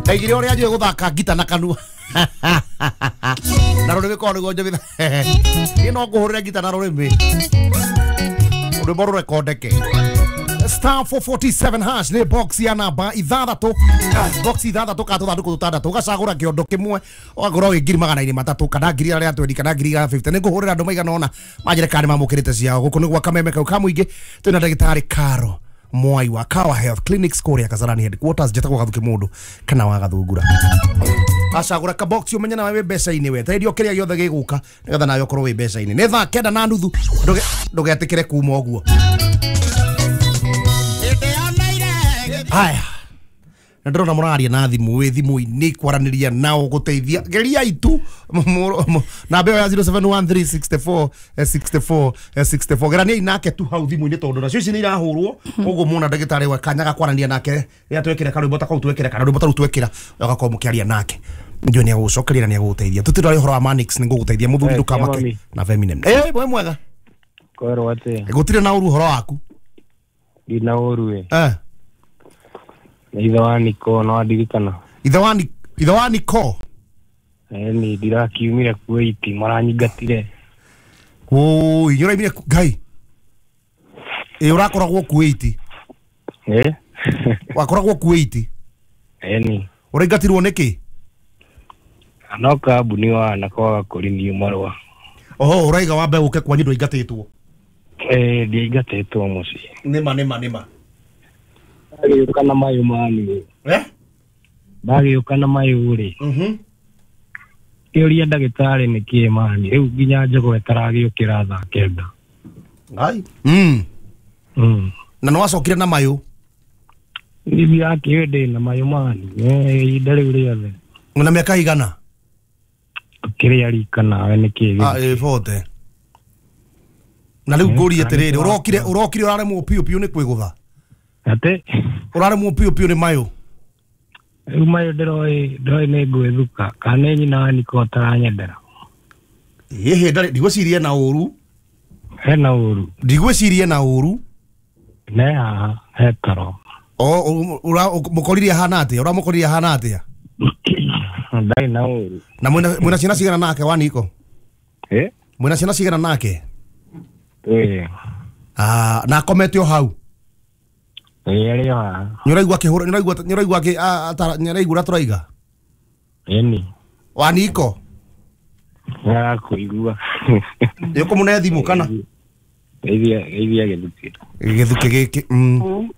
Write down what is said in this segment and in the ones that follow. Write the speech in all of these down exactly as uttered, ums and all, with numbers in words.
Ndaigire ũrĩa njũĩ gũthaka ngita na kanua. Na rũrĩmĩ korwo nĩguo njũĩ. Niĩ no ngũhũrĩre ngita na rũrĩmĩ. Rwĩmbo rũrekondeke. Star four forty-seven hash nĩ box ya namba ithathatũ, box ithathatũ ka tũthandũkũ tũtandatũ, ũgacagũra kĩondo kĩmwe ũgakorwo wĩ ngiri magana-inĩ matatũ kana ngiri igana rĩa twendi kana ngiri igana fifty. Nĩ ngũhũrĩra andũ maigana ũna manjĩre kana nĩ mamũkĩrĩte ciao. Gũkũ nĩ gwa Kameme kau ka mũingĩ, twĩna ndagĩtarĩ Caro Mwai wa Kawa Health Clinics kũrĩa Kasarani headquarters. Njĩtagwo Gathuki mũndũ kana wa Gathungura. Acagũra ka box ũmenye nawe wĩ mbeca-inĩ, we teithio kĩrĩa gĩothe gĩgũka nĩgetha nawe ũkorwo wĩ mbeca-inĩ. Nĩ thaa kenda na nuthu, ndũgetĩkĩre kuma ũguo. Haya, na ndĩrona mũraria na thimũ, wĩ thimũ-inĩ kwaranĩria nao gũteithia. Geria itu namba ĩyo ya zero seven one three six four six four six four. Geraniai nake tu hau thimũ-inĩ tondũ nacio ici nĩ irahũrwo. Koguo muona ndagĩtarĩ wa kanya ga kwaranĩria nake rĩrĩa twekĩra karwĩmbo ta kau twekĩra kana rwĩmbo ta rũu twekĩra, ũgakorwo mũkĩaria nake. Njũĩ nĩ egũgũcokeria na nĩ egũgũteithia. Tũtirĩ ũhoro wa Manix, nĩ ngũgũteithia mũthuri, ndũkamake na Feminem. Eh, we mwega. Kwerwo atĩa? Gũtirĩ na ũru ũhoro waku. Ndina ũru we. Eh. Ithe wa Niko no andirikana. Ithe wa Ithe wa Niko? Eh, ni ndirakiumire Kuwait maranyingatire. Oi, nyũraimire Ngai. Ĩ ũrakoragwo Kuwait? Eh? Wakoragwo Kuwait? Eh ni. Ũraingatirwo nĩkĩ? No kambuni wa na kwaga kũrinio marũa. Oho, ũraiga wambe ũke kwanyu ndũingatĩtwo? Eh, ndiaingatĩtwo mũciĩ. Nĩma nĩma nĩma. Ndagĩũka na mayũ mani. Eh? Ndagĩũka na mayũ rĩ. Mhm. Kĩũria ndagĩtarĩ nĩkĩĩ mani. Rĩu nginya njogoo ĩtaragĩũkĩra thaa kenda. Ngai. Mm. Mm. Na nĩ wacokire na mayũ? Niĩ akĩũĩ ndĩ na mayũ mani. Eh, ihinda rĩu rĩothe. Una mĩaka igana? Kĩrĩa rika nawe nĩkĩĩ? Ah, ĩ forty. Na rĩu ngũrie atĩrĩrĩ, ũrokire ũrokire ũraremwo piũ piũ nĩ kwĩgũtha? Atĩ? Ũraremwo piũ piũ nĩ mayũ? Rĩu mayũ ndĩroĩ ndĩroĩ nĩ ngwĩthuka kana nĩ nyina wa Niko ataranyendera. Ĩhĩ, ndarĩ ndigwĩciria na ũru. Hena ũru. Ndigwĩciria na ũru. Ne haha he toro. O ũramũkoririe ahana atĩa? Ũramũkoririe ahana atĩa? Ndarĩ na ũru. Na mwĩna mwĩna ciana cigana nake wa Niko? Eh? Mwĩna ciana cigana nake? Ĩĩ. Ah, na akomete o hau? Ĩĩ, arĩ o haha. Nĩũraigua akĩhũra, nĩũraigua nĩũraigua akĩ nĩũraigua ũrĩa tũraiga? Ĩni. Wa Niko? Nĩarakũigua. Nĩũkũmũne thimũ kana? Geithia geithia gĩthukĩ. Gĩthukĩ gĩkĩ. Mm.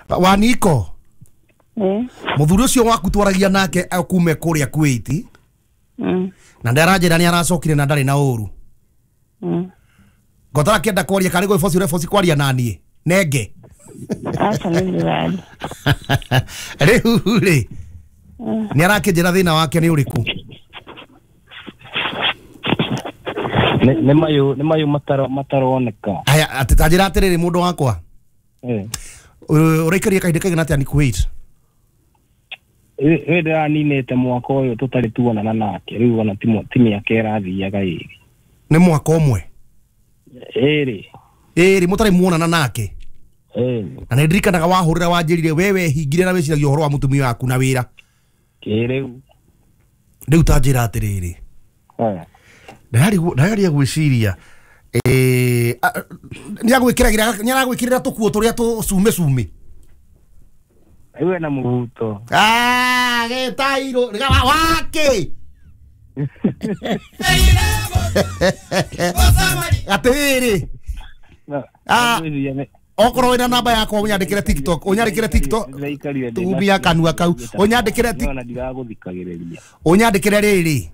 Wa Niko? Eh. Mũthuri ũcio waku twaragia nake akume kũrĩa Kuwait. Mm. Na ndaranjĩra nĩ aracokire na ndarĩ na ũru. Mm. Ngotara kĩenda kwaria kana gwĩboci ũreboci kwaria na niĩ. Nenge. Aca nĩ ndĩraria. Rĩu rĩ, nĩ arakĩnjĩra thĩna wake nĩ ũrĩkũ? Nĩ mayũ nĩ mayũ mataro mataroneka. Aya, atĩ ta njĩra atĩrĩrĩ mũndũ wakwa. Eh. Ũraikaria kahinda kaigana atĩa nĩ Kuwait? Ĩ ndĩraninĩte mwaka ũyũ tũtarĩ tuonana nake, rĩu ona ti mĩaka ĩrathiaga ĩrĩ. Nĩ mwaka ũmwe? Ĩrĩ. Ĩrĩ mũtarĩ muonana nake? Eh. Na nĩ ndirikanaga wahũrĩra wanjĩrire we wehingire na wĩciragia ũhoro wa mũtumia waku na wĩra. Kĩrĩu. Rĩu ta njĩra atĩrĩrĩ. Eh. Ndĩrageria gwĩciria eh nĩagwĩkĩragĩra nĩaragwĩkĩrĩra tũkuo tũrĩa tũcume cume. Rĩu ena mũhuto. Ah, gĩtairũ wakĩ. Atĩrĩrĩ. Ah. Okorwo wĩna namba yakwa ũnyandĩkĩre TikTok, ũnyandĩkĩre TikTok. Tumia kanua kau. Ũnyandĩkĩre TikTok. Ndiragũthikagĩrĩria. Ũnyandĩkĩre rĩrĩ.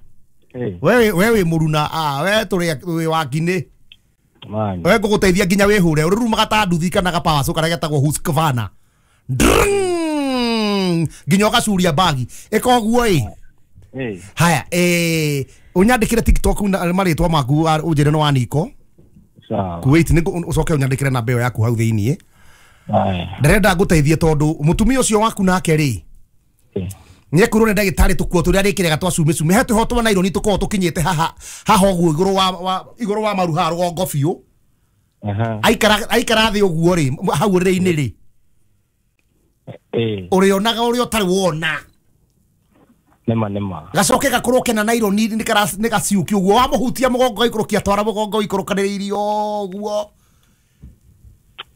We we wĩ mũruna, ah we tũrĩ wĩ wakinĩ. We ngũgũteithia nginya wĩhũre. Ũrũrumaga ta nduthi kana gapawaco karĩa getagwo Husqvarna. Nginya ũgacuria bagi. Ĩka ũguo ĩ. Haya, eh ũnyandĩkĩre TikTok marĩtwa maku ũnjĩre nĩ wa Niko. Kuwait nĩ ũcoke ũnyandĩkĩre namba ĩyo yaku hau thĩiniĩ. Ndĩrenda ngũteithie tondũ mũtumia ũcio waku nake rĩ, nĩekwĩrwo nĩ ndagĩtarĩ tũkuo tũrĩa arĩkĩraga twa cume cume. He tũho twa naironi tũkoragwo tũkinyĩte haha haha ũguo igũrũ wa igũrũ wa maru haha rũgongo biũ. Aikara aikara thĩ ũguo rĩ, hau ũrĩrĩ-inĩ rĩ, ũrĩonaga ũrĩa ũtarĩ wona. Nĩma nĩma. Gacoke gakorwo kena naironi nĩ gaciũki ũguo wamũhutia mũgongo ikũrũkia twara mũgongo ikũrũkanĩrĩirie ũguo.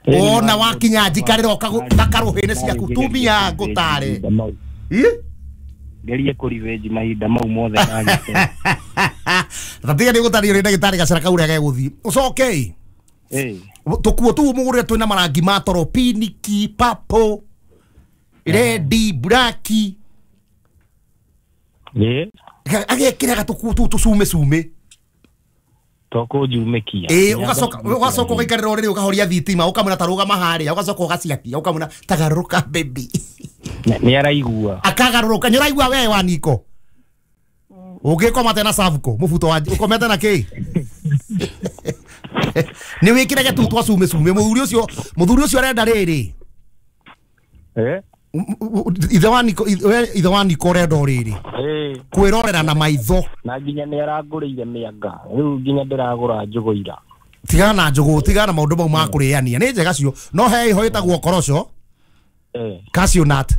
Ona wakinya njikarĩra gakarũhĩnĩ ciaku tumia ngũtare. Ĩ? Ngerie kũrivĩnji mahinda mau mothe ndagĩte. Tatiga nĩ gũtarĩrio nĩ ndagĩtarĩ gacĩra kau ũrĩa gegũthiĩ. Ũcoke ĩ. Tũkuo tũu mũgũrĩre twĩna marangi ma toro piniki, purple, red, black. Ĩ? Agekĩra gatũkuo tũu tũcume cume. Tũkũnjumĩkia. Ĩ ũgacoka ũgacoka ũgaikarĩra ũrĩrĩ ũkahoria thitima ũkamwĩra ta rũgama harĩa ũgacoka ũgaciakia ũkamwĩra tagarũrũka baby. Nĩ araigua. Akagarũrũka nĩ ũraigua we wa Niko. Ũngĩkoma tena Savco mũbuto wa ũkomete na kĩ? Nĩ wĩkĩre gĩtu twa cume cume mũthuri ũcio mũthuri ũcio arenda rĩrĩ. Eh? Ithe wa Niko ithe wa Niko ũrenda rĩrĩ. Eh. Kwĩrorera na maitho. Na nginya nĩ arangũrĩire mĩanga. Rĩu nginya ndĩragũra njũgũ ira. Tigana na njũgũ, tigana na maũndũ mau ma kũrĩania. Nĩ njega cio. No he iho ĩtagwo korosho. Eh. Cashew nut.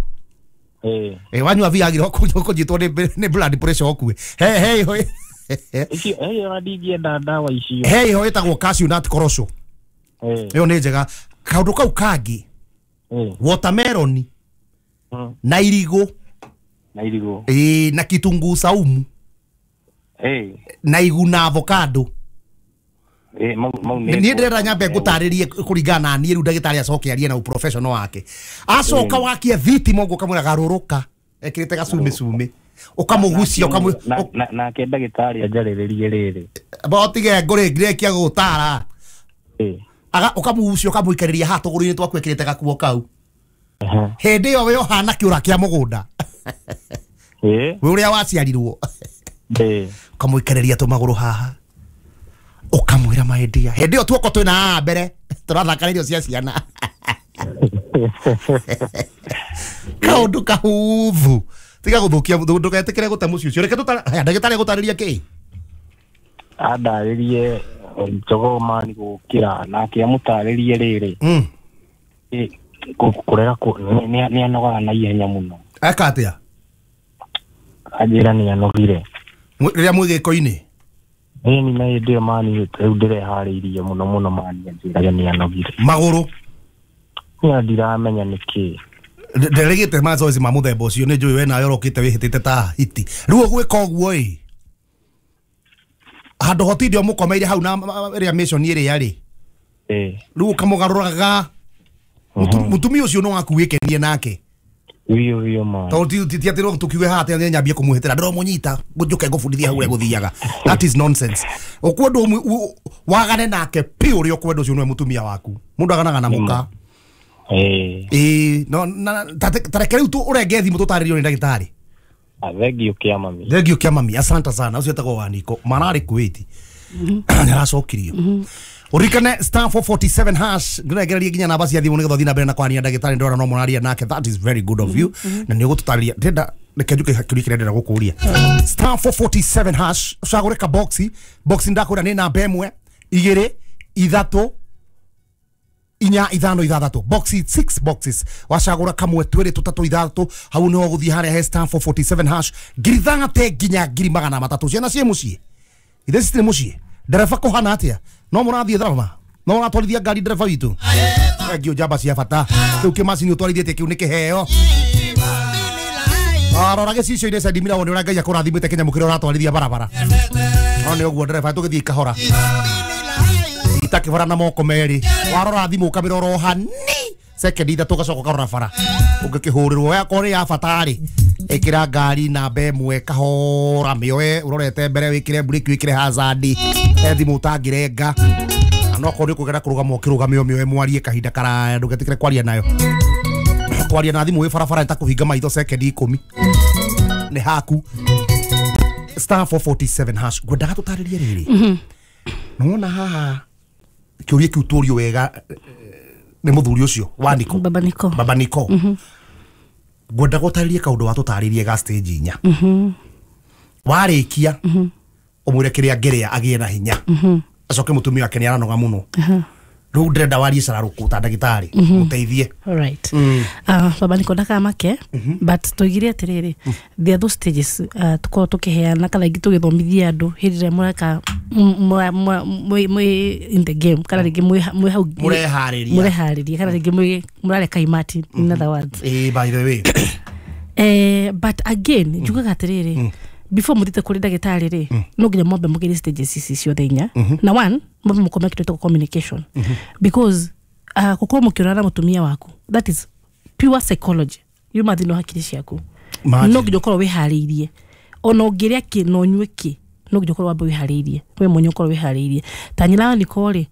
Eh. Eh wanyua Viagra ũkũnyitwo nĩ blood pressure ũkue. He he iho. Icio eh ona ndingĩenda ndawa icio. He iho ĩtagwo cashew nut korosho. Eh. Ĩyo nĩ njega. Kaũndũ kau kangĩ. Eh. Watermelon. Na irigũ. Na irigũ. Eh na kitunguu saumu. Eh. Na igu na avocado. Eh mau mau nĩ niĩ ndĩrenda nyambe ngũtarĩrie kũringana na niĩ rĩu ndagĩtarĩ acoke arie na ũprofessional wake. Acoka wakie thitima ũguo ũkamwĩra garũrũka ekĩrĩte gacume cume ũkamũgucia ũkamũ nake ndagĩtarĩ anjarĩrĩrie rĩrĩ. Botige ngũrĩ ngirĩkia gũgũtara. Eh. Aga ũkamũgucia ũkamũikarĩria haha tũgũrũ-inĩ twaku ekĩrĩte gakuo kau. Hĩndĩ ĩyo we ũhana kĩũra kĩa mũgũnda. Eh. We ũrĩa waciarirwo. Eh. Ũkamũikarĩria tũmagũrũ haha. Ũkamwĩra my dear. Hĩndĩ ĩyo tuoko twĩna haha mbere tũrathaka irio cia ciana. Kaũndũ kahũthũ. Tiga gũthũkia ndũgetĩkĩre gũte mũciĩ ũcio. Reke tũtara ndagĩtarĩ agũtarĩria kĩ? Andarĩrie njogoo mani gũkĩra nake amũtarĩrie rĩrĩ. Mm. Eh kũrega nĩ anogaga na ihenya mũno. Eka atĩa? Anjĩra nĩ anogire. Rĩrĩa mwĩ gĩko-inĩ? Ĩni na hĩndĩ ĩyo mani rĩu ndĩreharĩirie mũno mũno mani anjĩraga nĩ anogire. Magũrũ? Niĩ ndiramenya nĩkĩ. Nderegĩte mazoezi ma mũthemba ũcio nĩ njũĩ we nawe ũrokĩte wĩhĩtĩte ta hiti. Rĩu ũgwĩka ũguo ĩ handũ hotinde ũmũkomeire hau na ĩrĩa mission ĩrĩa rĩ. Ĩ. Rĩu ũkamũgarũraga mũtumia ũcio no waku wĩkenie nake. Biũ biũ ma. Tondũ ti atĩ no tũkiuge haha atĩ nyambie kũmũhĩtĩra ndĩramũnyita njũke ngũbundithie hau ũrĩa gũthiaga. That is nonsense. Ũkwenda wagane nake piũ ũrĩa ũkwenda ũcio nĩwe mũtumia waku. Mũndũ aganaga na mũka. Eh. Ĩ no na ta reke rĩu ũrenge thimũ tũtarĩrio nĩ ndagĩtarĩ. Thengio kĩa mami. Thengio kĩa mami asante sana ũcio etagwo Waniko mararĩ Kuwait. Nĩ aracokirio. Urikane star four forty-seven hash ngĩregereria nginya namba cia thimũ nĩgetha ũthiĩ na mbere na kwaria ndagĩtarĩ ndĩrona no mũraria nake. That is very good of you. Na nĩ ũgũtũtarĩria ndĩrenda reke njuke kĩũria kĩrĩa ndĩrenda gũkũria. Star four forty-seven hash ũcagũre ka box box ndakwĩra nĩ namba ĩmwe igĩrĩ ithatũ inya ithano ithathatũ box six boxes wacagũra kamwe twĩrĩ tũtatũ ithathatũ hau nĩho ũgũthiĩ harĩa he star four forty-seven hash ngiri thate nginya ngiri magana matatũ ciana ciĩ mũciĩ ithe citirĩ mũciĩ ndereba kũhana atĩa no mũrathiĩ tharama no ũratwarithia ngari ndereba witũ thengio njamba cia bata kĩu kĩmacini ũtwarithĩtie kĩu nĩ kĩheo arora gĩcicio-inĩ cendimira wone ũrĩa Ngai akũrathimĩte kĩnyamũ kĩrĩa ũratwarithia barabara no nĩ ũguo ndereba tũgĩthiĩ kahora itakĩbara na moko merĩ warora thimũ ũkamĩrora o hani sekendi ithatũ ũgacoka ũkarora bara ũngĩkĩhũrĩrwo yakorwo nĩ ya bata rĩ ĩkĩra ngari namba ĩmwe kahora mĩoe ũrorete mbere wĩkĩre breki wĩkĩre hazard he thimũ ũtangĩrenga na no akorwo nĩ ũkũgera kũrũgama ũkĩrũgame ũmĩoe mwarie kahinda karaya ndũgetĩkĩre kwaria nayo kwaria na thimũ wĩ barabara nĩ ta kũhinga maitho sekendi ikũmi nĩ haku star four forty-seven hash ngwendaga tũtarĩrie rĩrĩ nĩwona haha kĩũria kĩu tũrio wega nĩ mũthuri ũcio wa Niko Baba Niko Baba Niko ngwenda gũtarĩrie kaũndũ watũtarĩrie ga stage inya warĩkia ũmwĩre kĩrĩa angĩrĩa agĩe na hinya acoke mũtumia wake nĩ aranoga mũno Rĩu ndĩrenda warie cararũkũ ta ndagĩtarĩ mũteithie. Alright. Uh, baba niko ndakamake but tuigire atiriri, there are those stages uh, tukorwo tukiheana kana ingĩ tũgĩthomithia andũ hĩndĩ ĩrĩa mũreka mwĩ in the game kana rĩngĩ mwĩ hau mũreharĩria mũreharĩria kana rĩngĩ mwĩ mũrareka imati, in other words. Eh, by the way, eh, but again njugaga atiriri, before mũthiĩte kũrĩ ndagĩtarĩ rĩ, no nginya mwambe mũgerie stages ici ciothe inya. Na one, mwambe mũkome kĩndũ gĩtagwo communication, because uh, gũkorwo mũkĩonana na mũtumia waku, that is pure psychology, yuma thĩinĩ wa hakiri ciaku. No nginya ũkorwo wĩharĩirie, ona ũngĩrĩa kĩ na ũnyue kĩ, no nginya ũkorwo wambe wĩharĩirie we mwenye, ũkorwo wĩharĩirie ta nyina wa Nicole rĩ,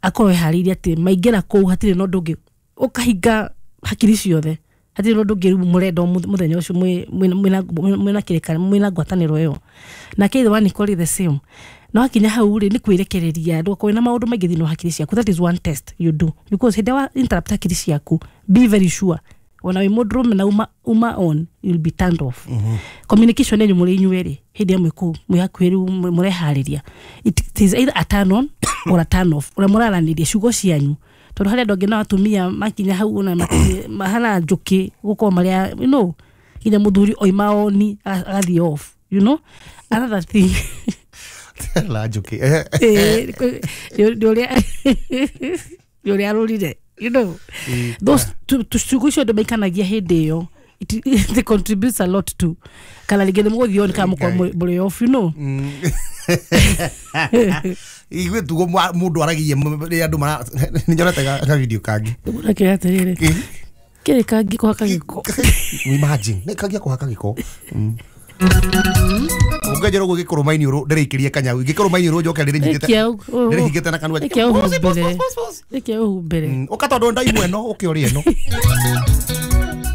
akorwo wĩharĩirie atĩ maingĩra kũu hatirĩ na ũndũ ũngĩ, ũkahinga hakiri ciothe, hatirĩ na ũndũ ũngĩ rĩu mũrenda mũthenya ũcio mwĩna kĩrĩkanĩro, mwĩna ngwatanĩro ĩyo. Nake ithe wa Nicole the same, no hakinya hau rĩ, nĩ kwĩrekereria, ndũgakorwo na maũndũ maingĩ thĩinĩ wa hakiri ciaku. That is one test you do, because hĩndĩ wa interrupt hakiri ciaku, be very sure ona wĩ mũndũrũme na uma, uma on, you'll be turned off. mm -hmm. Communication yanyu mũrĩ inyuĩ rĩ, hĩndĩ ĩrĩa mwĩ kũu mwĩ hakuhĩ rĩu mũreharĩria, it is either a turn on or a turn off ũrĩa mũraranĩria ciugo cianyu, tondũ harĩ andũ angĩ na atumia makinya hau ona mahana njũkĩ gũkorwo marĩa, you know, nginya mũthuri oima oni agathiĩ off, you know. Another thing, la njũkĩ nĩ ũrĩa nĩ ũrĩa arũrire, you know, those ciugo icio andũ maikanagia hĩndĩ ĩyo, it, it contributes a lot to kana rĩngĩ nĩ mũgũthiĩ on kana mũkorwo mũrĩ off, you know. Igwe tugo mũndũ aragia rĩrĩa andũ mara nĩ nyonete ka video kangĩ ũrakĩra atĩrĩrĩ kĩrĩ kangĩ kũhaka gĩko. Imagine nĩ kangĩ kũhaka gĩko ũngĩnjĩra ũguo gĩkũrũma-inĩ ũrũ ndĩrĩikĩrie kanyau gĩkũrũma-inĩ ũrũ njoke ndĩrĩnyitĩte ndĩrĩhingĩte na kanua ĩkĩa ũhumbĩre ũka tondũ ndaimwe ĩno ũke ũrĩe ĩno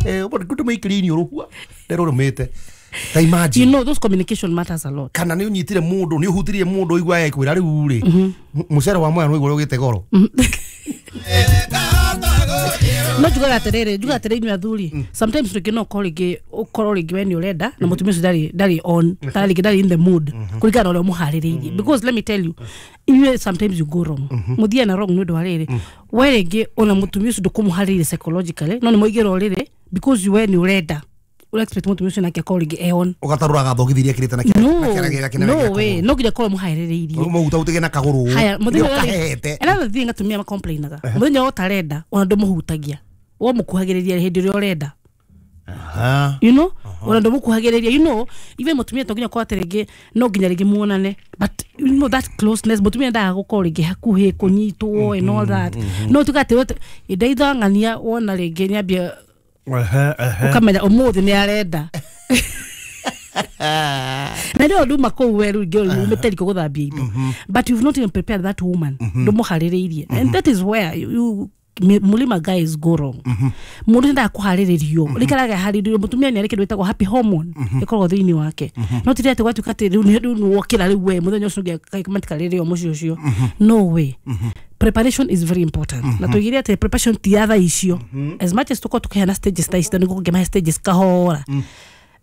eh ndũmĩikĩrie ini ũrũ ndĩrũrũmĩte. Ta imagine, you know, those communication matters a lot. Kana nĩ ũnyitire mũndũ, nĩ ũhutirie mũndũ igua ekwĩra rĩu rĩ mũcere wa Mwea nĩ ũigua ũgĩte goro. No njugaga atĩrĩrĩ, njugaga atĩrĩrĩ inyuĩ athuri, sometimes rĩngĩ no ũkorwo rĩngĩ ũkorwo rĩngĩ we nĩ ũrenda na mũtumia ũcio ndarĩ ndarĩ on, kana rĩngĩ ndarĩ in the mood kũringana na ũrĩa ũmũharĩrĩirie, because let me tell you, inyuĩ sometimes you go wrong, mũthiaga na wrong nĩ ũndũ wa rĩrĩ, we rĩngĩ ona mũtumia ũcio ndũkũmũharĩrĩria psychologically, no nĩ mũigĩra ũrĩrĩ because we nĩ ũrenda ura expect mũtumia ũcio nake akorwo rĩngĩ e on, ũgatarũraga thogithi iria ekĩrĩte na kĩara no way, no nginya akorwo mũharĩrĩirie mũhutahutige na kagũrũ haya mũthenya. Another thing atumia macomplainaga, mũthenya ũtarenda ona ndũmũhutagia, wo mũkuhagĩrĩria hĩndĩ ĩrĩa ũrenda, you know, ona ndũmũkuhagĩrĩria, you know, even mũtumia to nginya akorwo atĩ rĩngĩ no nginya rĩngĩ muonane, but you know that closeness, mũtumia endaga gũkorwo rĩngĩ hakuhĩ kũnyitwo and all that, no tuga atĩ ndaithang'ania wona rĩngĩ nĩambia ukamenya ũmũthĩ nĩ arenda na rĩo nduma kũu we rĩu ingĩ umĩte riko gũthambia indo, but you've not even prepared that woman, ndũmũharĩrĩirie, and that is where you mulima guys go wrong. Mũndũ endaga kũharĩrĩrio rĩkaraga harĩrĩrio, mũtumia nĩ arĩ kĩndũ gĩtagwo happy hormone ĩkoragwo thĩinĩ wake, no ti atĩ gwatuĩka atĩ rĩu nĩ wokĩra rĩu we mũthenya ũcio ũngĩ matikarĩrĩo mũciĩ ũcio, no way. Preparation is very important. Na tuigire atĩ preparation ti ya thaa icio, as much as tũkorwo tũkĩheana stages thaa ici, nĩguo kũngĩmahe stages kahora,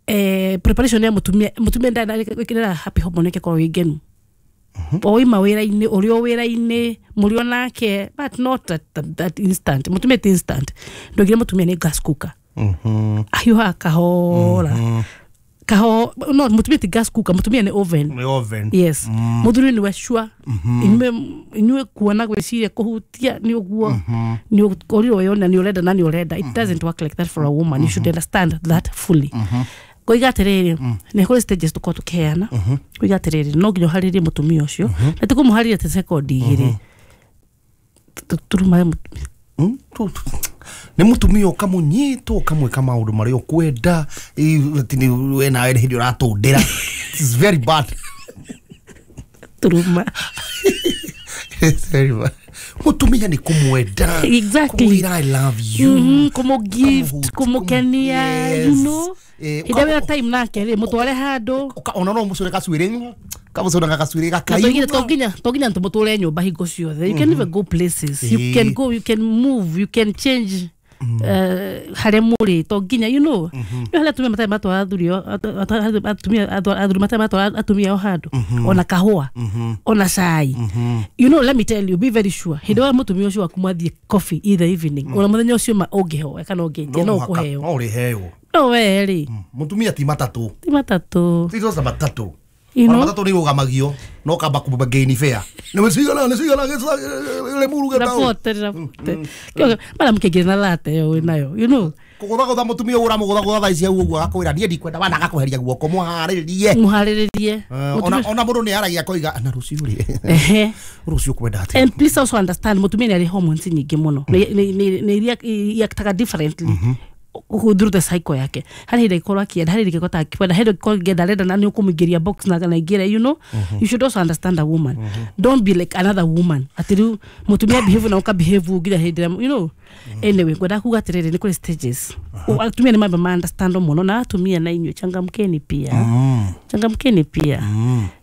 eh, preparation ya mũtumia, mũtumia ndarĩ happy hormone yake ĩkoragwo ĩ ngenu oima wĩra-inĩ, ũrĩ o wĩra-inĩ mũrĩ o nake, but not at that instant. Mũtumia ti instant, ndũigire mũtumia nĩ gas cooker, ahiũhaga kahora kaho, no mũtumia ti gas cooker, mũtumia nĩ oven. Nĩ oven, yes. Mũthuri nĩwe sure, inyuĩ inyuĩ kuona gwĩciria kũhutia nĩ ũguo nĩ ũkorirwo wĩona nĩ ũrenda na nĩ ũrenda. It doesn't work like that for a woman. You should understand that fully. Koiga atĩrĩrĩ, nĩ kũrĩ stages tũkorwo tũkĩheana. Koiga atĩrĩrĩ, no nginya ũharĩrie mũtumia ũcio, na ti kũmũharĩria ta sekondi igĩrĩ turuma nĩ mũtumia ũkamũnyita ũkamwĩka maũndũ marĩa ũkwenda, we nawe nĩ hĩndĩ ũratũndĩra. It's very bad. Turuma. It's very bad. Mũtumia nĩ kũmwenda, exactly, kũmwĩra I love you, kũmũgift, kũmũkenia, you know, hĩndĩ ĩrĩa time nake rĩ mũtware handũ, ona no mũcũre gacuĩrĩ, kamũcũre gacuĩrĩ gakaiyũ, to nginya to nginya tũmũtũre nyũmba hingo ciothe. You can even go places, you can go, you can move, you can change. Harĩa mũrĩ to nginya you know nĩ harĩa atumia matarĩ matwara athuri atumia athuri matarĩ matwara atumia ao handũ ona kahũa ona cai. You know, let me tell you, be very sure hĩndĩ ĩrĩa mũtumia ũcio waku mwathiĩ coffee in the evening ona mũthenya ũcio ma ũngĩhoya kana ũngĩtia no ũkũheo. No ũrĩheo. No we rĩ mũtumia ti matatũ, ti matatũ, ti rosa matatũ. You know, matatũ nĩ rũgamagio no kamba kũmagaini fair nĩ cigana nĩ cigana Limuru gĩtau rapote rapote mara mũkĩingĩra na late ĩyo wĩ nayo, you know, kũgũthagũtha mũtumia ũra mũgũthagũtha thaa ici hau ũguo agakwĩra niĩ ndikwenda wana agakũheria guoko mũharĩrĩrie mũharĩrĩrie. Ona ona mũndũ nĩ aragia akoiga na rũciũ rĩ ehe rũciũ kwenda atĩa. And please also understand mũtumia nĩ arĩ hormones nyingĩ mũno nĩ iria iactaga differently through the cycle yake. Harĩ hĩndĩ ĩkorwo akĩenda, harĩ hĩndĩ ĩkorwo akĩenda, harĩ hĩndĩ ĩkorwo akĩenda arenda na nĩ ũkũmũingĩria box na kana aingĩre, you know. You should also understand a woman. Don't be like another woman atĩ rĩu mũtumia behave na ũka behave nginya hĩndĩ ĩrĩa, you know. Anyway, ngwenda kuga atĩrĩrĩ nĩ kũrĩ stages. Atumia nĩ mambe ma understand mũno na atumia na inyuĩ changamkeni pia, changamkeni pia.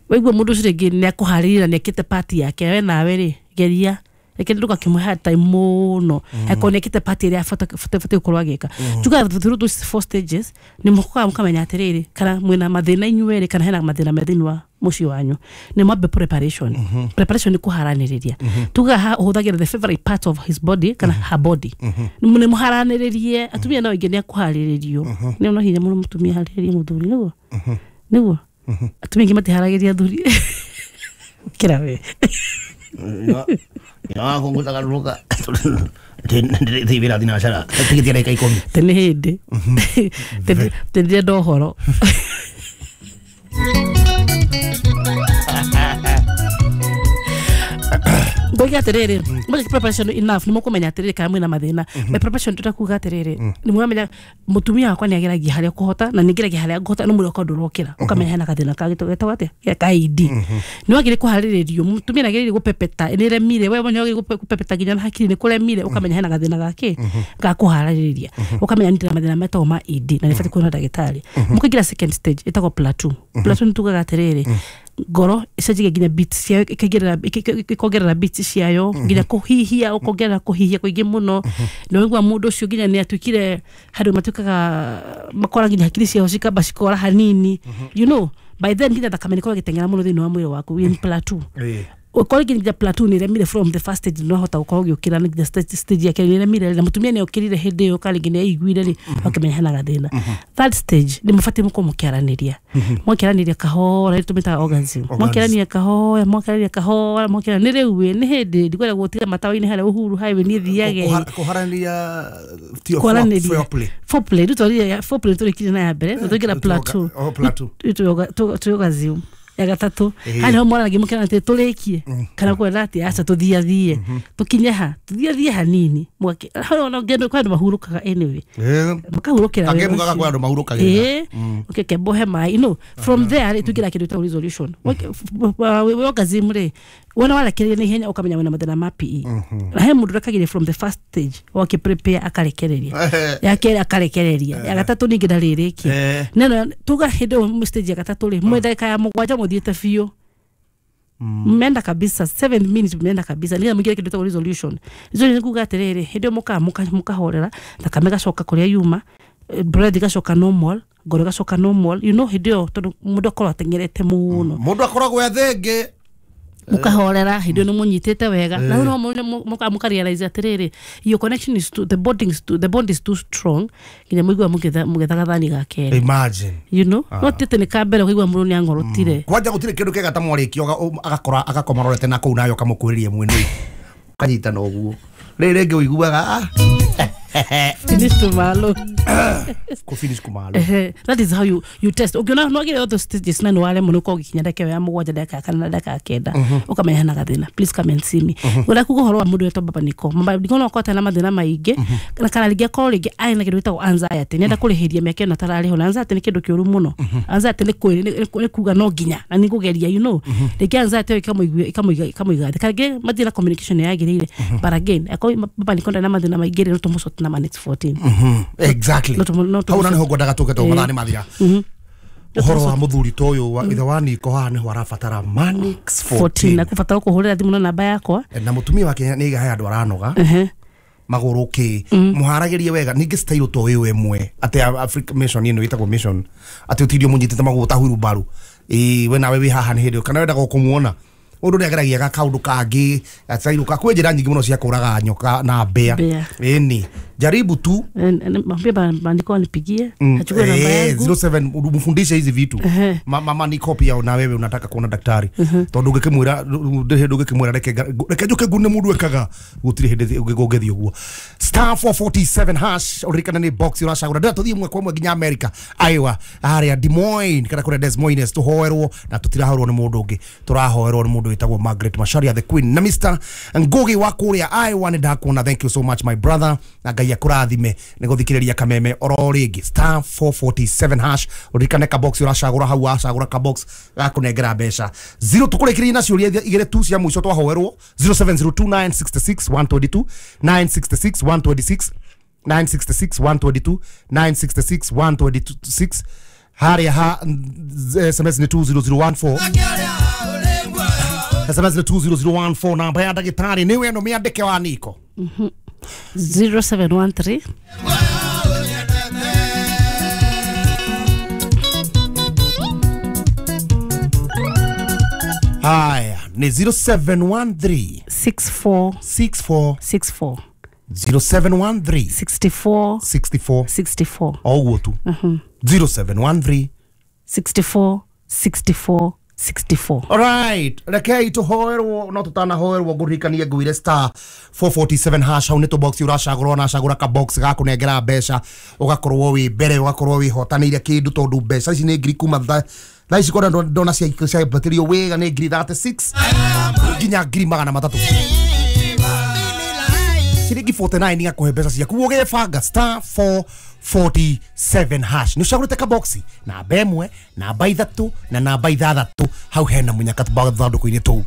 Waigua mũndũ ũcio rĩngĩ nĩ akũharĩrĩria na nĩ ekĩte party yake, we nawe rĩ geria reke ndũgakĩmũhe hard time mũno akorwo nĩ ekĩte party ĩrĩa abatiĩ gũkorwo agĩka. Tugaga through those four stages nĩ mũkoraga mũkamenya atĩrĩrĩ kana mwĩna mathĩna inyuĩ erĩ kana hena mathĩna me thĩinĩ wa mũciĩ wanyu. Nĩ mwambe preparation. Preparation nĩ kũharanĩrĩria. Tugaga haha ũhũthagĩra the favorite part of his body kana her body. Nĩ mũharanĩrĩrie atumia no aingĩ nĩ akũharĩrĩrio. Nĩ no hinya mũno mũtumia harĩrĩrie mũthuri nĩguo nĩguo atumia aingĩ matiharagĩria athuri kĩra we ya kũngũthagarũrũka thiĩ wĩra thinacara tigĩtie ndagĩka ikũmi tene hĩndĩ tene ũhoro. Ngoiga atĩrĩrĩ mweke preparation enough nĩ mũkũmenya atĩrĩrĩ kana mwĩna mathĩna. By preparation tũtakuga atĩrĩrĩ nĩ mũramenya mũtumia wakwa nĩ ageragia harĩa kũhota na nĩ ngeragia harĩa ngũhota no mwĩrĩ wakwa ndũrokĩra ũkamenya hena gathĩna ka getagwo atĩa ka I D. Nĩ wagĩrĩire kũharĩrĩrio mũtumia nĩ agĩrĩire gũpepeta nĩ remire we nĩ wagĩrĩire gũpepeta nginya na hakiri nĩ kũremire ũkamenya hena gathĩna gake ga kũharĩrĩria ũkamenya nĩ ndĩna mathĩna metagwo ma I D na nĩ batiĩ kuona ndagĩtarĩ. Mũkaingĩra second stage ĩtagwo plateau. Plateau nĩ tugaga atĩrĩrĩ ngoro ĩcenjagia nginya beats ciayo ĩkaingĩrĩra ĩkongerera beats ciayo nginya kũhihia ũkongerera kũhihia kũingĩ mũno na ũigua mũndũ ũcio nginya nĩ atuĩkire handũ matuĩkaga makora nginya hakiri ciao cikamba cikora hanini, you know, by then nginya thakame nĩkorwo ĩgĩteng'era mũno thĩinĩ wa mwĩrĩ waku in plateau. Ũkorwo nginya plateau nĩ ĩremire from the first stage no hota gũkorwo ũgĩũkĩra nginya stage yake nĩ ĩremire na mũtumia nĩ okĩrire hĩndĩ ĩyo kana rĩngĩ nĩ aiguire rĩ ũkamenya hena gathĩna. Third stage nĩ mũbatiĩ mũkorwo mũkĩaranĩria mwakĩaranĩria kahora tũmĩtaga orgasm mwakĩaranĩria kahora mwakĩaranĩria kahora mwakĩaranĩria nĩ rĩu ĩ nĩ hĩndĩ ndikwenda gũtiga matawa-inĩ harĩa Uhuru Highway niĩ thiage kũharanĩria foreplay foreplay rĩu twarire foreplay tũrĩkirie na ya mbere tũingĩra plateau tũ orgasm ya gatatũ harĩa niho mwaranagia mũkĩrana atĩ tũrĩkie kana kwenda atĩ aca tũthiathie tũkinye ha tũthiathie hanini mwake hau ona ngendo kwa andũ mahurũkaga anyway makahurũkĩra wega mugaga kwa andũ mahurũkagĩra okay kembohe maĩ, you know, from there rĩ tũingĩra kĩndũ gĩtagwo resolution. We orgasm rĩ wona warekereria na ihenya ũkamenya wĩna mathĩna ma P E na he mũndũ ũrekagĩria from the first stage wake prepare akarekereria ya kerĩ akarekereria ya gatatũ ningĩ ndarĩrĩkia neno tuga hĩndĩ ĩyo stage ya gatatũ rĩ mwe ndagĩka ya mũgwanja mũthiĩte biũ mmeenda kabisa seven minutes mmeenda kabisa nĩgetha mũingĩre kĩndũ gĩtagwo resolution. Resolution nĩ kuga atĩrĩrĩ hĩndĩ ĩyo mũkaga mũkahorera thakame ĩgacoka kũrĩa yuma breath ĩgacoka normal ngoro ĩgacoka normal, you know, hĩndĩ ĩyo tondũ mũndũ akorwo ateng'erete mũno mũndũ akoragwo e thenge mukahorera hĩndĩ ĩyo nĩ mũnyitĩte wega na no mũka realize atĩrĩrĩ your connection is too, the bonding is too, the bond is too strong nginya mũigua mũgĩtha gathani ga kerĩ imagine, you know, no tĩte nĩ ka mbere ũkaigua mũndũ nĩ ang'orotire kwanja gũtirĩ kĩndũ kĩega ta mwarĩkia agakora agakoma rorete na kũu nayo ũkamũkuhĩrĩria mwena ũkanyitana ũguo rĩrĩ rĩngĩ ũiguaga ah finish tomorrow ko finish kumalo that is how you you test ukiona no agire other stages na no wale muno ko gikinya ndeke ya mugwanja ndeka kana ndeka ya kenda ukamenya hena gathina please come and see me ura kugo horo wa mundu wetwo baba niko baba niko no akote na mathina maingi na kana ringi akorwo ringi ari na kindu gitagwo anxiety nenda kurihiria miaka ino tarariho na anxiety ni kindu kiuru muno anxiety ni ni kuga no nginya na ni kugeria you know ringi anxiety ikamuigua ikamuiga ikamuiga kana ringi mathina communication yagirire but again akorwo baba niko na mathina maingi no tumucote na minutes fourteen. Mm-hmm. Exactly. Hau na niho ngwendaga tuke to mathaa ni mathira. Uhoro wa muthuri to uyu wa ithe wa Niko haha niho arabatara Manix fourteen na kubatara kuhurira thimu na namba yakwa na mutumia wake ni iga he andu aranoga. Ehe. Magũrũ kĩ mũharagĩrie wega ningĩ style to ĩyo ĩmwe atĩ Africa mission ĩno ĩtagwo mission atĩ ũtindio mũnyitĩte magũrũ ta hurubaru ĩĩ we nawe wĩ haha nĩ hĩndĩ kana wendaga kũmuona ũndũ nĩ ageragia ga kaũndũ kangĩ gacairũ ka kwĩ njĩra nyingĩ mũno cia kũraga nyoka na mbĩa. Mbĩa. Ĩni jaribu tu. Mwambie Bandiko anipigie, Mm, achukue namba eh, yangu. zero seven mfundishe hizi vitu. Ehe. Ma, mama Niko pia na wewe unataka kuona daktari tondu ngikimwira ndiri hindu ngikimwira reke reke njuke ngune mundu ekaga gutiri hindi ngũngĩthiĩ ũguo. Star four forty-seven hash uririkana ni box uracagũra ndĩra tũthiĩ mwe kwa mwe nginya America Iowa harĩa Des Moines kana kũrĩa Des Moines tũhoerwo na tũtirahoerwo nĩ mũndũ ũngĩ tũrahoerwo nĩ mũndũ wĩtagwo Margaret Macharia the Queen na Mister Ngugi wa kũrĩa Iowa nĩ ndakuona. Thank you so much my brother na Ngai akũrathime nĩ gũthikĩrĩria kameme oro rĩngĩ. Star four forty-seven hash uririkane ka box uracagũra hau wacagũra ka box gakũnengera mbeca zero tũkũrĩkĩrĩria na ciũria igĩrĩ tu cia mũico twahoerwo zero seven zero two nine six six one two two nine six six one two six nine six six one two two nine six six one two six harĩa ha S M S nĩ two zero zero one four S M S nĩ two zero zero one four namba ya ndagĩtarĩ nĩwe ĩno mĩandĩke wa Niko zero seven one three Haya ni zero seven one three six four six four six four zero seven one three sixty-four sixty-four sixty-four oguo tu zero seven one three sixty-four sixty-four sixty-four. All right, rekei tuhoerwo no tutanahoerwo ngũririkanie ngwire star four forty-seven hash hau nĩ tũbox ũracagũra ona cagũra ka box gakũnengera mbeca ũgakorwo wĩ mbere ũgakorwo wĩhotanĩire kĩndũ tondũ mbeca ici nĩ ngiri kuma thaa thaa ici kona ndona ciambatĩrio wega nĩ ngiri thirty-six nginya ngiri magana matatũ ciringi forty-nine igakũhe mbeca ciaku ũgĩbanga star four forty-seven hash nĩ ũcagũrĩte kaboxi namba ĩmwe namba ithatũ na namba ithathatũ hau hena mũnyaka thandũkũ-inĩ tũu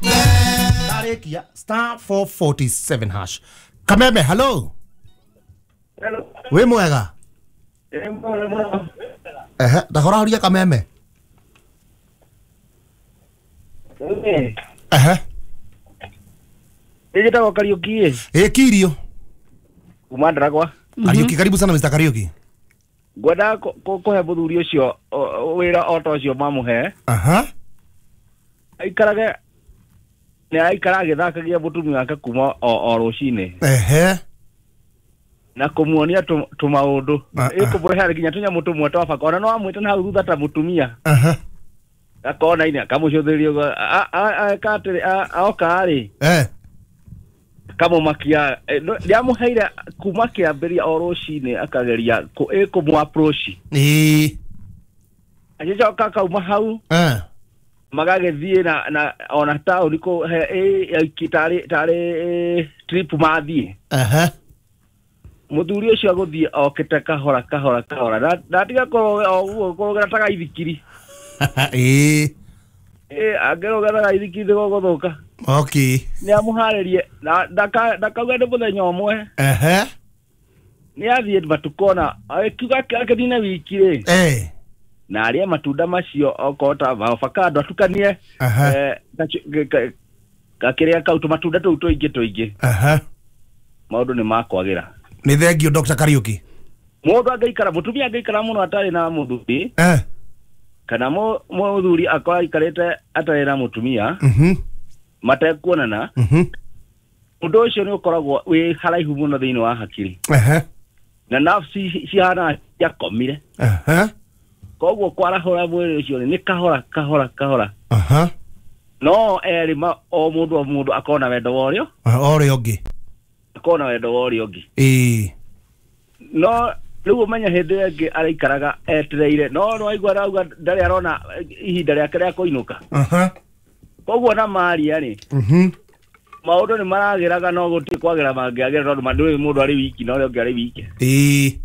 ndarĩkia star four forty-seven hash. Kameme hello. Hello. Wĩ mwega? Ehe ndahorahoria Kameme. Ehe Njĩtagwo Kariuki. Ĩ kirio kuma Ndaragwa. Kariuki karibu sana Mister Kariuki. Ngwenda kũhe mũthuri ũcio wĩra o ta ũcio mamũhe. Aha. Aikarage nĩ aikara agĩthakagia mũtumia wake kuma o rũcinĩ. Ehe. Na kũmuonia tũmaũndũ ĩkũmũrehere nginya tũnyamũ tũmwe twa baka ona no amwĩte na hau thutha ta mũtumia. Aha. Akona inĩ akamũcũthĩrĩria ũguo eka atĩrĩ oka rĩ eh kamũmakia ndiamũheire kuma kĩambĩrĩria o rũcinĩ akageria ĩkũmũ approach ĩĩ agĩcoka akauma hau eh magagĩthiĩ na na ona taũni kũ ĩ tarĩ tarĩ trip mathiĩ. Aha. Mũthuri ũcio agũthiĩ okĩte kahora kahora kahora ndatiga kũrũgera kũrũgera ta gaithikiri. Ĩĩ ĩ angĩrũgera gaithikiri nĩgũgũthũka. Okay. Nĩ amũharĩrie ndakauga nĩ mũthenya ũmwe. Ehe. Nĩ athiĩ matukũ ona akiuga akĩnina wiki rĩ. Eh. Na arĩe matunda macio okorwo ta avocado atukanie eh gakĩrĩa kau tũmatunda tũu tũingĩ tũingĩ. Aha. Maũndũ nĩ makwagĩra. Nĩ thengio Doctor Kariuki. Mũndũ angĩikara mũtumia angĩikara mũno atarĩ na mũthuri. Eh. Kana mũthuri akorwo aikarĩte atarĩ na mũtumia. Mhm. Matekuonana. Mhm. Ũndũ ũcio nĩ ũkoragwo wĩ haraihu mũno thĩinĩ wa hakiri. Ehe. Na nafsi cihana ciakomire. Ehe. Koguo kwarahũra mwĩrĩ ũcio nĩ kahora kahora kahora. Aha. No erĩ ma o mũndũ o mũndũ akona wendo wa ũrĩa ũrĩa ũngĩ. Akona wendo wa ũrĩa ũngĩ. Ĩĩ. No rĩu ũmenye hĩndĩ ĩyo ĩngĩ araikaraga etereire no no aigua arauga ndarĩ arona ihinda rĩake rĩa kũinũka. Aha. Koguo na maria rĩ. Mhm. Maũndũ nĩ maragĩraga no gũtirĩ kwagĩra mangĩagĩra tondũ ndũĩ mũndũ arĩ wiki na ũrĩa ũngĩ arĩ wiki. Ĩĩ.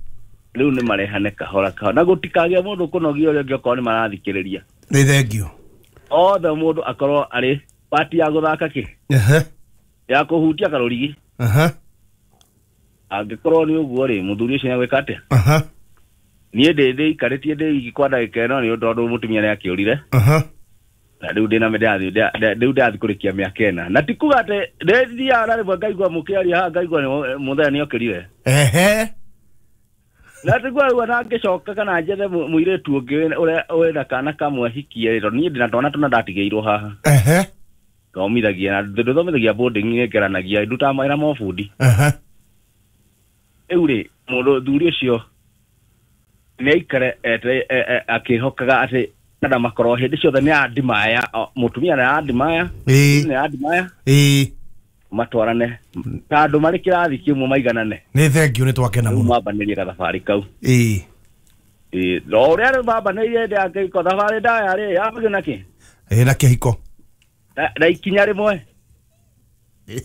Rĩu nĩ marehane kahora kahora na gũtikagĩa mũndũ kũnogia ũrĩa ũngĩ okorwo nĩ marathikĩrĩria. Nĩ thengio. Othe mũndũ akorwo arĩ pati ya gũthaka kĩ. Ehe. Ya kũhutia karũrigi. Aha. Angĩkorwo nĩ ũguo rĩ mũthuri ũcio nĩegwĩka atĩa? Aha. Niĩ ndĩ ndĩikarĩtie ndĩ wiki kwa ndagĩka ĩno nĩ tondũ mũtumia nĩ akĩũrire. Aha. Na rĩu ndĩna ndĩrathiĩ rĩu ndĩrathiĩ kũrĩkia mĩaka ĩna na ti kuga atĩ ndĩthiaga na rĩmwe ngaigua mũkĩaria haha ngaigua mũthenya nĩokĩrire. Ehe. Na ti kuga rĩu ona ngĩcoka kana njethe mũirĩtu ũngĩ ũrĩa wĩna kana kamwe hikie tondũ niĩ ndĩna twana tũna ndatigĩirwo haha. Ehe. Thomithagia na ndũthomithagia boarding ngeranagia ndutaga mawĩra ma ũbundi. Ehe. Rĩu rĩ mũndũ thuri ũcio nĩaikare akĩhokaga atĩ kada makorwo hĩndĩ ciothe nĩ andimaya mũtumia nĩ andimaya nĩ andimaya ĩĩ matwarane ta andũ marĩ kĩrathi kĩmwe maiganane. Nĩ thank you nĩ twakena mũno. Mambanĩrie gathabarĩ kau. Ĩĩ. Ĩĩ no ũrĩa rĩu mambanĩirie hĩndĩ ya kĩhiko thabarĩ ndaya rĩ yambagio na kĩ? Ĩĩ na kĩhiko. Na ikinya rĩmwe.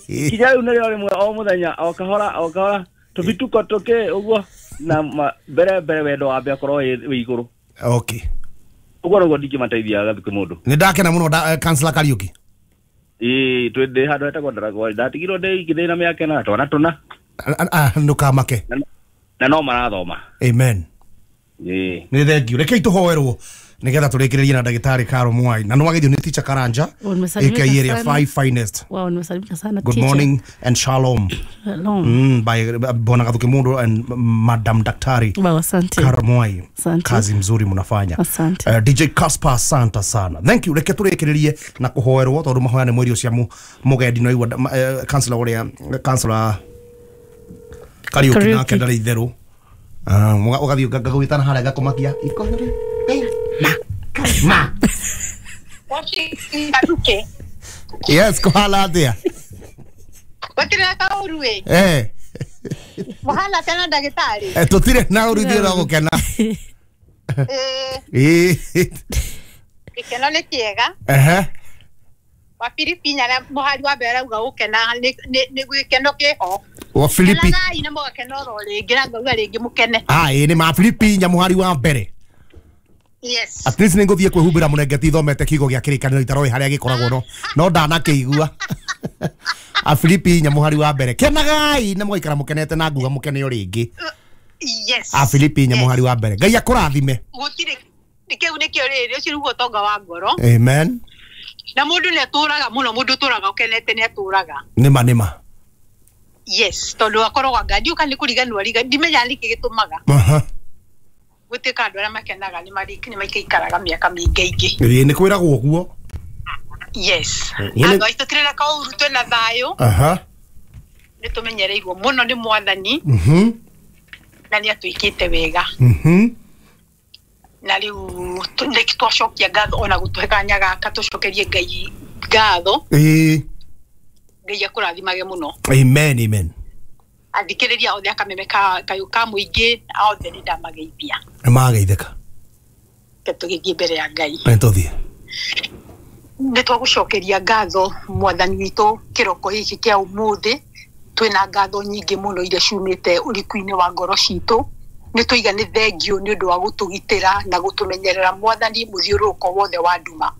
Ikinya rĩu nĩrĩo rĩmwe o mũthenya o kahora o kahora tũbituko tũkĩ ũguo na mbere mbere wendo wambe akorwo wĩ igũrũ. Okay. Ũguo nĩguo ndingĩmateithia gathukĩ mũndũ. Nĩ ndakena mũno Councillor Kariuki. Ĩĩ twĩ ndĩ handũ hetagwo Ndaragwa ndatigirwo ndĩ iki ndĩ na mĩaka ĩna twana tũna. Ndũkamake. Na no marathoma. Amen. Ĩĩ. Nĩ thank you. Rekei tũhoerwo nĩgetha tũrĩkĩrĩrie na ndagĩtarĩ Caro Mwai na nĩwagĩthio nĩ teacher Karanja aka area five finest. Wow, nimesalimika sana Good teacher. Morning and shalom. Shalom. Mm, by Bwana Gathuki Mundu and Madam Daktari. Wow, asante. Caro Mwai. Asante. Kazi mzuri mnafanya. Asante. Uh, D J Casper asante sana. Thank you. Reke tũrĩkĩrĩrie na kũhoerwo tondũ mahoya nĩ mwerio cia mũgendi no igua uh, councillor ũrĩa councillor Kariuki nake ndarĩ itherũ. Ah, ũgathiĩ ngagwĩtana harĩa ngakũmakia ikohore. Ma. Ma. Yes, kuhala atia. Gũtirĩ na kaũru ĩ. Eh. Mũhana tena ndagĩtarĩ. Eh, tũtirĩ na ũru ithuĩ no gũkena. Eh. Ĩ. Gĩkeno nĩ kĩega. Ehe. Wa Filipi na mũhari wa mbere arauga gũkena nĩ gĩkeno kĩho. Wa Filipi. Kenagai na mũgakena oro rĩngĩ na ngauga rĩngĩ mũkene. Ah, ĩ nĩ ma Filipi inya mũhari wa mbere. Yes. At least nĩngũthiĩ kwĩhumbĩra mũrengeti thomete kiugo gĩa kĩrĩkanĩro itaroĩ harĩa gĩkoragwo no no ndanakĩigua. A Filipi inya mũhari wa mbere. Kenagai na mũgaikara mũkenete na nguga mũkene o rĩngĩ. Yes. A Filipi inya mũhari wa mbere. Ngai akũrathime. Gũtirĩ kĩu nĩkĩo rĩrĩ ũcio nĩguo ũtonga wa ngoro. Amen. Na mũndũ nĩ atũraga mũno mũndũ ũtũraga ũkenete nĩ atũraga. Nĩma nĩma. Yes, tondũ akoragwo anga ndiũka nĩ kũriganĩrwo riga ndimenya nĩkĩ gĩtũmaga. Aha. Gũtuĩka andũ arĩa makenaga nĩ nĩ maikaraga mĩaka mĩingĩ ingĩ. Ĩĩ nĩ kwĩragwo ũguo. Yes. Andũ aitũ tũtirĩ na kaũru twĩna thayũ. Aha. Nĩ tũmenyereirwo mũno nĩ mwathani. Mhm. Na nĩ atwĩkĩte wega. Mhm. Na rĩu nĩ twacokia ngatho ona gũtũhe kanya gaka tũcokerie Ngai ngatho. Ĩĩ. Ngai akũrathimage mũno. Amen, amen. Athikĩrĩria othe akameme ka kayũ ka mũingĩ othe nĩ ndamageithia. Nĩ mageithĩka. Reke tũgĩthiĩ mbere ya Ngai. Nĩ tũthiĩ. Nĩ twagũcokeria ngatho mwathani witũ kĩroko gĩkĩ kĩa ũmũthĩ. Twĩna ngatho nyingĩ mũno iria ciumĩte ũriku-inĩ wa ngoro citũ. Nĩ tũiga nĩ thengio nĩ ũndũ wa gũtũgitĩra na gũtũmenyerera mwathani mũthiũrũrũko wothe wa nduma.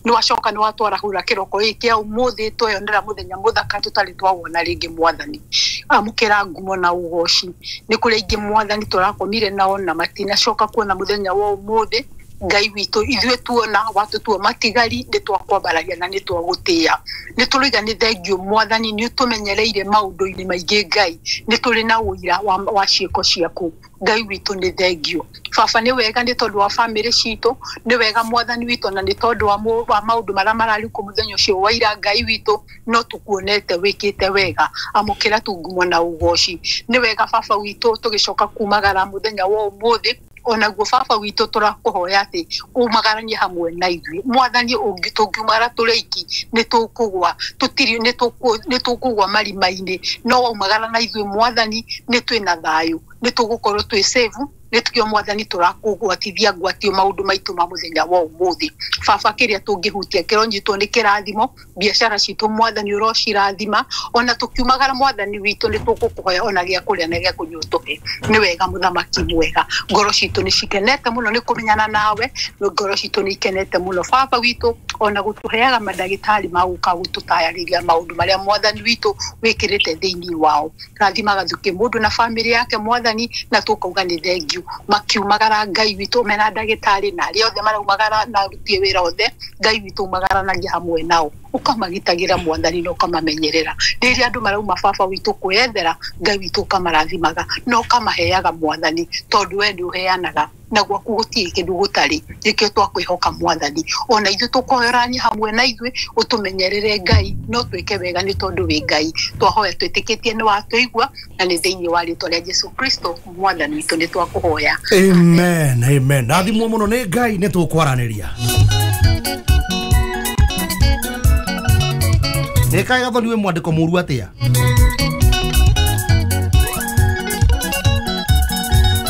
Nĩ wacoka nĩ watwarahũra kĩroko gĩkĩ kĩa ũmũthĩ tweyonera mũthenya mũthaka tũtarĩ twawona rĩngĩ mwathani. Amũkĩra ngumo na ũgoci. Nĩ kũrĩ aingĩ mwathani tũrakomire nao na matinacoka kuona mũthenya wa ũmũthĩ. Ngai witũ ithuĩ tuona watũtua matigari nĩ twakwambararia na nĩ twagũtĩĩa. Nĩ tũrauga nĩ thengio mwathani nĩ ũtũmenyereire maũndũ-inĩ maingĩ Ngai. Nĩ tũrĩ na ũira wa, wa ciĩko ciaku. Ngai witũ nĩ thengio. Baba nĩ wega nĩ tondũ wa bamĩrĩ citũ, nĩ wega mwathani witũ na nĩ tondũ wa, wa maũndũ marĩa mararĩ kuo mũthenya ũcio wa ira Ngai witũ no tũkuonete wĩkĩte wega. Amũkĩra tu ngumo na ũgoci. Nĩ wega baba witũ tũgĩcoka kumagara mũthenya wa ũmũthĩ onaguo baba witũ tũrakũhoya atĩ umagaranie hamwe na ithuĩ mwathani ũngĩ tũngiumagara tũrĩ aiki nĩ tũkũgwa tũtirĩ nĩ tũkũgwa marima-inĩ no waumagara na ithuĩ mwathani nĩ twĩna thayũ nĩ tũgũkorwo twĩ safe nĩ tukio mwathani tũrakũgwatithia ngwatio maũndũ maitũ ma mũthenya wa ũmũthĩ baba kĩrĩa tũngĩhutia kĩronyitwo nĩ kĩrathimo biacara citũ mwathani ũrocirathima ona tũkiumagara mwathani witũ nĩ tũgũkũhoya ona gĩa kũrĩa na gĩa kũnyua ũtũhe nĩ wega mũthamaki mwega ngoro citũ nĩ cikenete mũno nĩ kũmenyana nawe ngoro citũ nĩ ikenete mũno baba witũ ona gũtũheaga mandagĩtarĩ ma gũka gũtũtayarĩria maũndũ marĩa mwathani witũ wĩkĩrĩte thĩinĩ wao rathimaga thukĩ mũndũ na bamĩrĩ yake mwathani na tũkauga nĩ thengio. you. Makiumagara Ngai witũ mena ndagĩtarĩ na arĩa othe maraumagara na aruti wĩra othe, Ngai witũ umagaranagia hamwe nao, ũkamagitagĩra Mwathani na ũkamamenyerera. Rĩrĩa andũ marauma baba witũ kwĩyethera, Ngai witũ ũkamarathimaga na ũkamaheaga Mwathani, tondũ we nĩ ũheanaga na gwaku gũtirĩ kĩndũ gũtarĩ. Nĩkĩo twakwĩhoka Mwathani, ona ithuĩ tũkoyorania hamwe na ithuĩ, ũtũmenyerere Ngai, no twĩke wega nĩ tondũ wĩ Ngai. Twahoya twĩtĩkĩtie nĩ watũigua, na nĩ thĩinĩ wa rĩtwa rĩa Jesu Kristo Mwathani witũ nĩ twakũhoya. Amen, amen. Rathimwo mũno nĩ Ngai, nĩ tũkwaranĩria. Nĩ kaĩ gathoni wĩ mwandĩko mũru atĩa?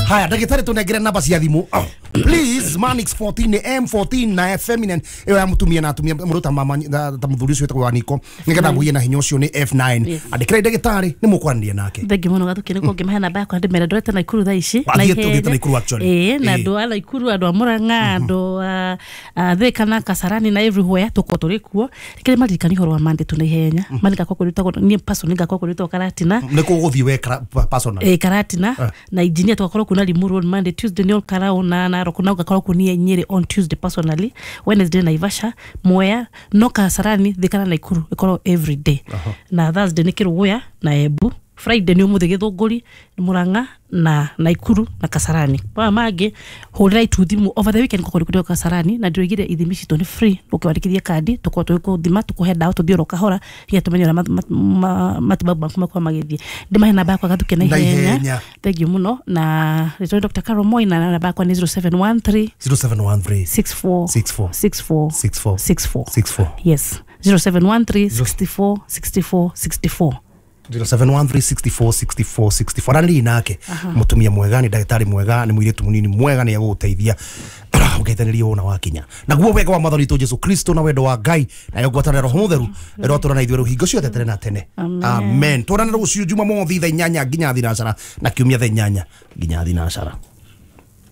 Haya, ndagĩtarĩ tũnengere namba cia thimũ. Oh, please, Manix fourteen nĩ M fourteen na F feminine ĩyo ya mũtumia na atumia mũndũ ta mama ta mũthuri ũcio wĩtagwo Waniko, nĩgetha mũgĩe na hinya ũcio nĩ F nine. Yes. Andĩkĩrai ndagĩtarĩ nĩ mũkwaranĩria nake. Thengi mũno Gathuki, nĩguo ngĩmahe namba yakwa ndĩmere ndorete Naikuru thaa ici. Athiĩte- Na ihenya. ũthiĩte Naikuru actually. Ĩĩ, na Ĩĩ. andũ a Naikuru, andũ a Murang'a, andũ a a Thika na Kasarani na everywhere tũkorwo tũrĩ kuo. Reke maririkanie ũhoro wa Monday tũ na ihenya. Monday ngakorwo kũrĩtagwo niĩ personally ngakorwo kũrĩtwo Karatina. Nĩ kũ ũgũthiĩ we kara- personally? Ĩĩ, Karatina Eh. na engineer tũgakorwo kuna Limuru on Monday, Tuesday nĩ Olkarau na Narok, na ũgakorwo kunia Nyeri on Tuesday personally, Wednesday Naivasha, Mwea, no Kasarani, Thika na Naikuru ĩkorwo every day. Na Thursday nĩ Kĩrũgũya na Embu, Friday nĩ ũmũthĩ Gĩthũngũri, Murang'a na Naikuru na Kasarani. Maya mangĩ hũrĩra itu thimũ over the weekend ngũkorwo kũrĩ Kasarani, na ndĩroigire ithimi citũ nĩ free, ũkĩwandĩkithia kandi tũkorwo tũgĩkũthima, tũkũhe ndawa tũthiĩ oro kahora nginya tũmenye ũrĩa ma- ma- ma- matibabu maku makorwo magĩthiĩ. Ndĩmahe namba yakwa Gathuki na Na ihenya. ihenya. Thank you mũno, na rĩtwa nĩ Doctor Carol Moi, na namba yakwa nĩ zero seven one three zero seven one three six four six four six four six four six four six four. Yes, zero seven one three sixty four sixty four sixty four. zero seven one three sixty four sixty four sixty four. Aranĩria nake mũtumia mwega, nĩ ndagĩtarĩ mwega, nĩ mũirĩtu mũnini mwega, nĩ egũgũteithia ũgeithanĩria wona wakinya. Naguo wega wa Mwathani witũ Jesu Kristo na wendo wa Ngai nayo ngwatanĩro Roho Mũtheru ĩrotũra na ithuĩ rĩu hingo ciothe tene na tene. Amen. Amen. Tuonane rũciũ Jumamothi thaa inyanya nginya thinacara, na kiumia thaa inyanya nginya thinacara.